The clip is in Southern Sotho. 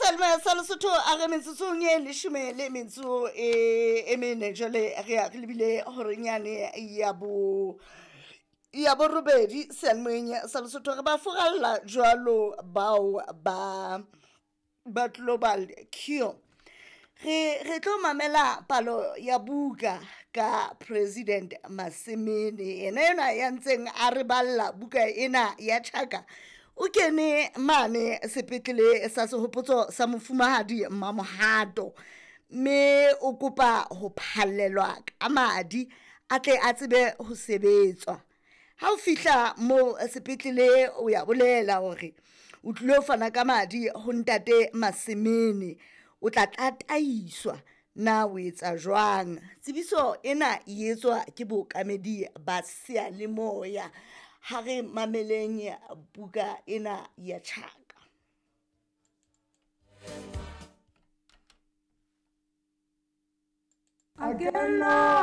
Selma sa Lesotho a re metsotsong e leshome le metso e mene jwale re ya re lebile horenyane ya bo ya borobedi seyalemoyeng sa Lesotho. Re ba furalla jwalo bao ba Global Cure. Re tlo mamela palo ya buka ka President Masemene, yena enwa ya ntseng a re balla buka ena ya Tjhaka. O kene mane sepetlele sa sehopotso sa mofumahadi Mamohato, mme o kopa ho phallelwa ka madi a tle a tsebe ho sebetswa. Ha o fihla moo sepetlele o ya bolela hore o tlilo fana ka madi ho ntate Masemene, o tla tataiswa na o etsa jwang. Tsebiso ena e etswa ke bookamedi ba seyalemoya. Ha re mameleng buka ena ya Tjhaka. A kena.